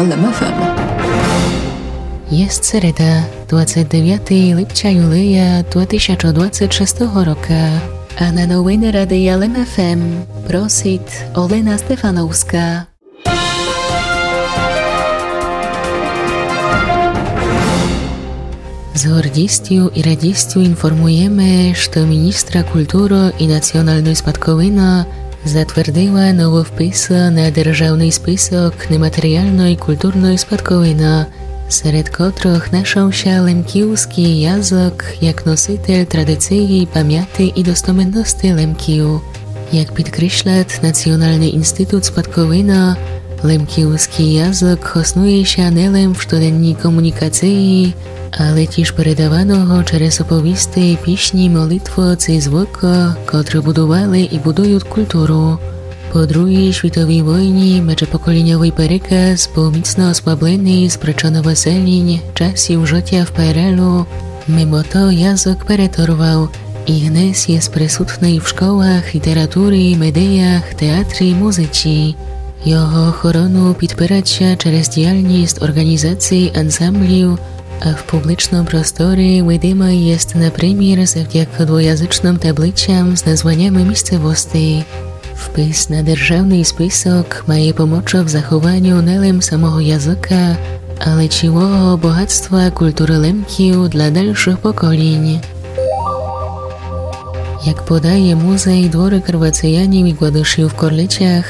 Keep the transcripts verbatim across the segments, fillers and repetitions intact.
Лем ФМ. Єст середа, двадцет девятый липця, юлия два тисячы двадцет шестого рока. А на новины Радия Лем ФМ просит Олена Стефановска. З гордістю і радістю інформуєме, што міністра културы і національной спадковины затвердила новы впис на державный список нематеріалной културной спадковины, серед котрых нашов ся лемківскій язык як носитель традиції, памяти і достоменности Лемків. Як підкреслят Націоналный інститут спадковины, лемківскій язык хоснує ся не лем в штоденній комунікації, але тіж передаваного через оповісти, пісні, молитвы ци звыкы, котры будували і будуют културу. По другій світовій войні меджепоколіньовый переказ быв міцно ослабленый з причын выселінь, часів жытя в ПРЛ-у. Мимо то язык переторвав і днес єст присутный в школах, літературі, медіях, театрі, музиці. Його охорону підпират ся через діяльніст орґанізацій, ансамблів, а в публічным просторі видимый єст, напримір, завдяка двоязычным таблицям з названями місцевостей. Впис на державный список має помочы в захованю не лем самого языка, але цілого богатства културы Лемків для дальшых поколінь. Як подає музей двору Карвацеянів і Гладышів в Корлицях,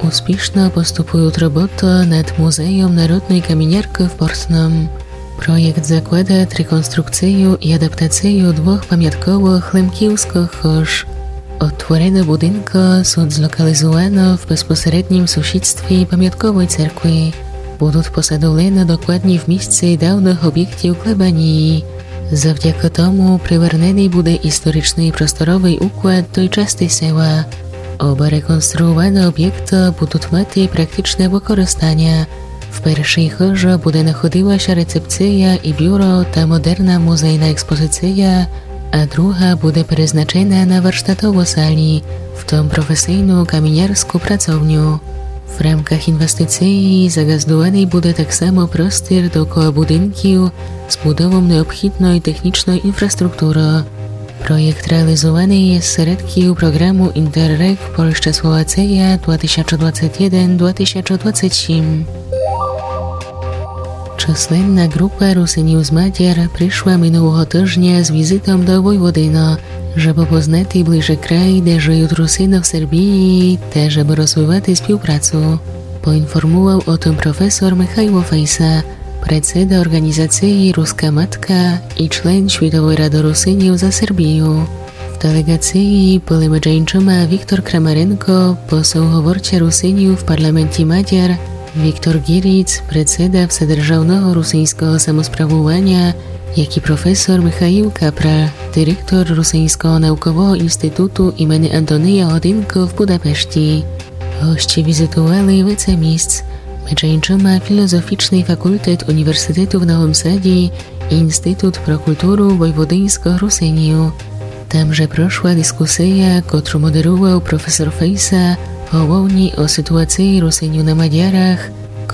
успішно поступуют роботы над музейом народной каміняркы в Портным. Проєкт закладат реконструкцію і адаптацію двох памятковых лемківскых хыж. Одтворены будинкы сут злокалізуваны в безпосереднім сусідстві памятковой церкви. Будут посадовлены докладні в місци давных обєктів клебанії. Завдяка тому приверненый буде історичный просторовый уклад той части села. Оба реконструуваны обєкты будут мати практичне выкористаня. В першій хыжы буде находила ся рецепція і бюро та модерна музейна експозиція, а друга буде призначена на варштатову салю, в том професійну камінярску працовню. В рамках інвестиції заґаздуваный буде так само простір довкола будинків з будовом необхідной технічной інфраструктуры. Проєкт реалізуваный єст з середків програму Інтерреґ Польща — Словація два тисячы двадцет єден — два тисячы двадцет сім. Численна ґрупа Русинів з Мадяр пришла минулого тыжня з візитом до Войводины, жебы познати ближе край, де жыют Русины в Сербії, та жебы розвивати співпрацу. Поінформував о тым професор Михайло Фейса, председа орґанізації Руска матка і член Світовой рады Русинів за Сербію. В делеґації были меджи іншыма Віктор Крамаренко, посол-говорця Русинів в парламенті Мадяр, Віктор Ґіріц, председа Вседержавного русиньского самосправуваня, як і професор Михаїл Капраль, директор Русиньского наукового інституту імени Антония Годинка в Будапешті. Госцї візитували веце місц, меджи іншыма Філозофічный факултет Універзітету в Новым Саді і Інститут про културу войводиньскых Русинів. Там же прошла дискусія, котру модерував професор Фейса, головні о ситуації Русинів на Мадярах,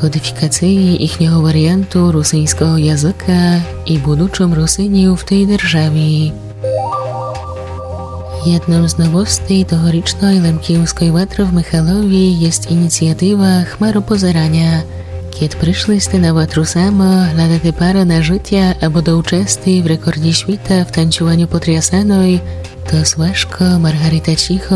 кодифікації їхнього варіанту русиньского языка і будучом Русинів в тій державі. Єдном з новостей тогорічной Лемківской ватры в Михалові єст ініціатива Хмаропозераня. Кед пришли сте на ватру сама, глядати пару на жытя або до участи в рекордї світа в танцюваню потрясаной, то Свашко, Маргарита Чіхо,